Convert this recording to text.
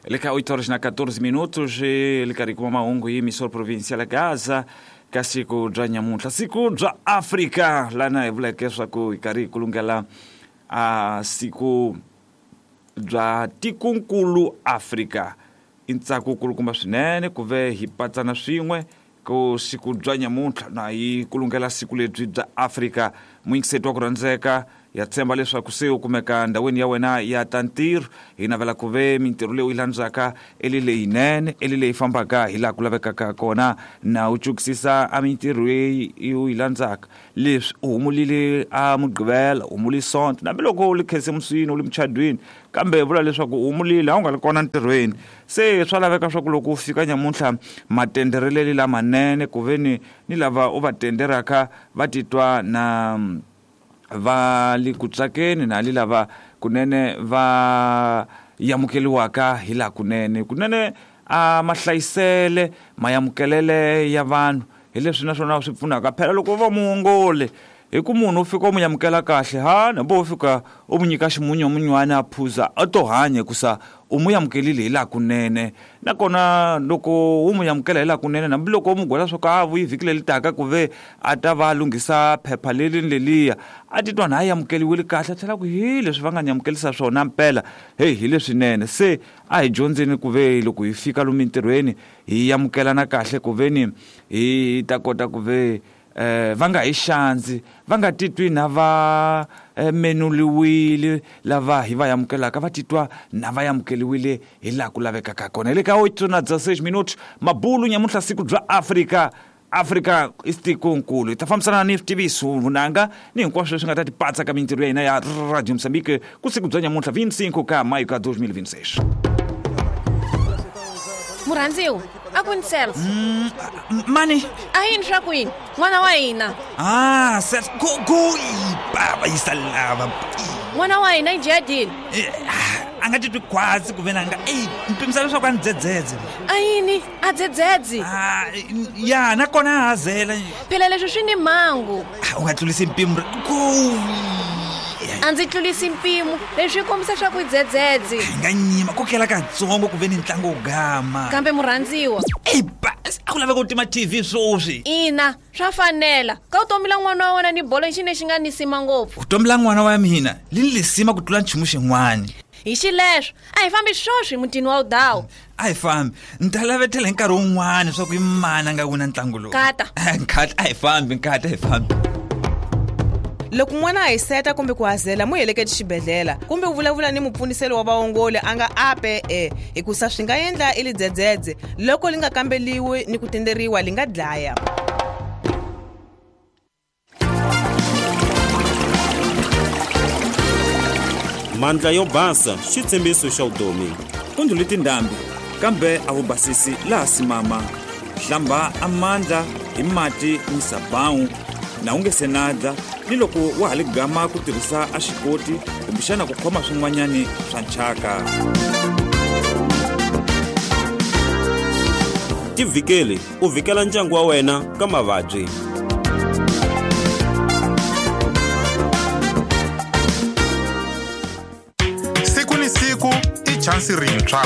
Le ka 8 horas na 14 minutos le karhi kuma mahungu hi Emissora Provincial ya Gaza ka siku bya nyamuntlha, siku bya Afrika, lana hi vuleke swa ku hi karhi hi kulungela a siku bya tikunkulu Afrika. I ntsako kulukumba swinene ku ve hi patsana swin'we ku siku bya nyamuntlha na hi kulungela siku lebyi bya Afrika. Muyingiseti wa ku rhandzeka, ya tshemba leswaku se u kumeka ndhawini ya wena ya ta ntirho. Hi navela ku ve mintirho leyi u yi landzaka eli leyinene, eli leyi fambaka hi laha ku lavekaka kona, na u cukisisa a mintirho leyi u yi landzaka. Leswi u humulile a Mugqivela, u humuli Sonto, hambiloko u li khisimusini, u li muchadwini, kambe vula leswaku u humulile, a wu nga li kona ntirhweni. Se swa laveka swa ku loko u fika nyamuntlha matendereleli lamanene, ku ve ni lava u va tenderaka va titwa na va li ku tsakeni, na li lava kunene va yamukeliwaka hi laha kunene. Kunene a mahlayisele mayamukelele ya vanhu hi leswi naswona swi pfunaka. Phela loko va muongoli, hi ku munhu u fika u mu yamukela kahle, ha hambi u fika u mu nyika ximunyamunywana a phuza, a to hanya hikusa u mu yamukelile hi laha kunene. Nakona loko u mu yamukela hi laha kunene, hambiloko u mu gwela swa ku a vuyi vhiki leri taka ku ve a ta va lunghisa phepha leri ni leliya, a titwa na a yamukeliwile kahle, a tlhela ku hi leswi va nga ni yamukelisa swona mpela, heyi hi leswinene. Se a hi dyondzeni ku ve loko hi fika lomu mintirhweni hi yamukelana kahle, ku ve ni hi ta kota ku ve va nga hi xandzi, va nga titwi na va menuliwile lava hi va yamukelaka, va titwa na va yamukeliwile hi laha ku lavekaka kona. Hi le ka oito na 16 minutos, mabulu nyamuntlha siku bya Afrika. Afrika i tikonkulu. Hi ta fambisana ni switiviso, vunanga ni hinkwaswo leswi nga ta tipatsa ka mintirho ya hina ya Radio Mozambique ku siku bya nyamuntlha 25 ka mayo ka 2026. Murhandziwa, a ku ni Celso. Mani? A yini swa ku yini? N'wana wa hina. Ah, Celso, go go baba yisa lava. N'wana wa hina i jadini. A nga titwi khwatsi ku ve na nga, ey, mpimisa leswaku a ni dzedzedze. A yini? A dzedzedze? Ah, ya, nakona a hazela. Phela leswi swi ni mhangu. Ah, u nga tlulisi mpimo. Go. A ndzi tlulisi mpimo, leswi swi kombisa swa ku dzedzedze. Hi nga nyima kokela katsongo ku ve ni ntlangu wo gama. Kambe murhandziwa. Ey, ba, a ku laveka ku tima TV sweswi. Ina, swa fanela. Ka vutomi la n'wana wa wena ni bolo i xi lexi nga ni sima ngopfu. Vutomi la n'wana wa mina li ni lisima ku tlula nchumu xin'wana. Hi xileswo, a hi fambi sweswi mutini wa Udawu. A hi fambi, ni ta lavetela hi nkarhi wun'wana swa ku i mani a nga wina ntlangu lowu. Nkata. Nkata, a hi fambi, nkata, a hi fambi. Loko n'wana a hiseta kumbe ku hazela, mu heleketi xibedhlele kumbe u vulavula ni mupfuniseli wa vaongoli a nga ape e, hikusa swi nga endla i lidzedzedze loko li nga kambeliwi ni ku tenderiwa li nga dlaya. Mandla yo basa xitshembiso xa vutomi. Ku ndlhule tindhambi kambe a wu basisi laha simama. Hlamba a mandla hi mati ni sabawu na u nge se nadla, ni loko wa ha li gama ku tirhisa a xikoti kumbexana ku khoma swin'wanyani swa nchaka. Tivhikeli u vhikela ndyangu wa wena ka mavabyi. Siku ni siku i chansi rintshwa.